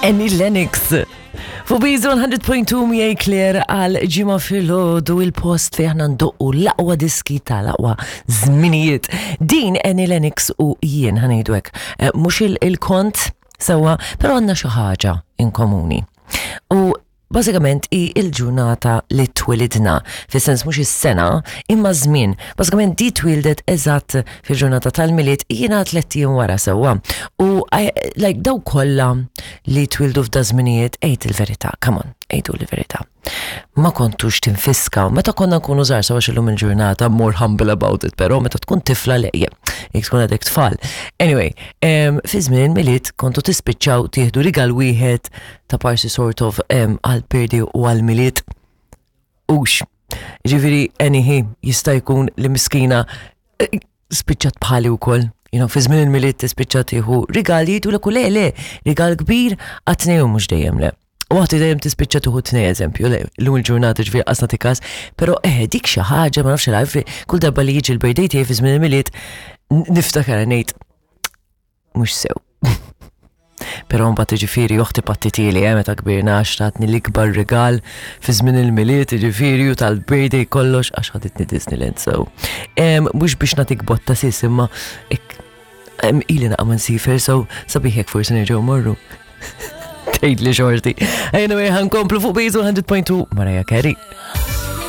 Annie Lennox. Fuq Bizu 100.2 miegħi Claire għal ġimgħa filgħodu il-post fejn aħna ndoqqu l-aqwa diski tal-aqwa żminijiet. Din Annie Lennox u jien ħanejdu hekk. Eh, mhux il-kont sewwa, però għandna xi ħaġa in komuni. U bażikament hi l-ġurnata li twilidna, fis-sens mhux is-sena, imma żmien. Bażikament di twildet eżatt fil-ġurnata tal-Milied jiena tlett ijiem wara sewwa. U like daw kollha li twildu f'da żminijiet għid il-verità, come on, għidu l-verità. Ma kontux tinfiskaw, meta konna nkunu żgħar sewa xillum il-ġurnata more humble about it, però meta tkun tifla lejje, jekk tkun għadek tfal. Anyway, fi żmien Milied kontu tispiċċaw tieħdu rigal wieħed ta' parsi sort of għal birthday u għal milied. Ux, ġifiri, anyhi, jista' jkun li miskina eh, spiċċat bħali wkoll. You know, fi żmien il-milied tispiċċa tieħu rigal jgħidu l le le, rigal kbir għat-tnejn u mhux dejjem le. U għati dejjem tispiċċa tuħu tnej eżempju, le, l-lum il-ġurnata ġifieri qasna tikas, però eh dik xi ħaġa ma nafx il kull darba li jiġi l-birthday tiegħi fi żmien il-milied niftakar ngħid mhux sew. Però mbagħad jiġifieri oħti pattitieli eh, meta kbirna għax tatni l-ikbar rigal fi żmien il-Milied jiġifieri u tal-birthday kollox għax ħaditni Disneyland so. Mhux biex nagħtik botta sis imma ili naqa' ma nsifer so sabiħ jekk forsi nerġgħu morru. Tgħidli xorti. Anyway, ħankomplu fuq Bizu 100.2 Mariah Carey.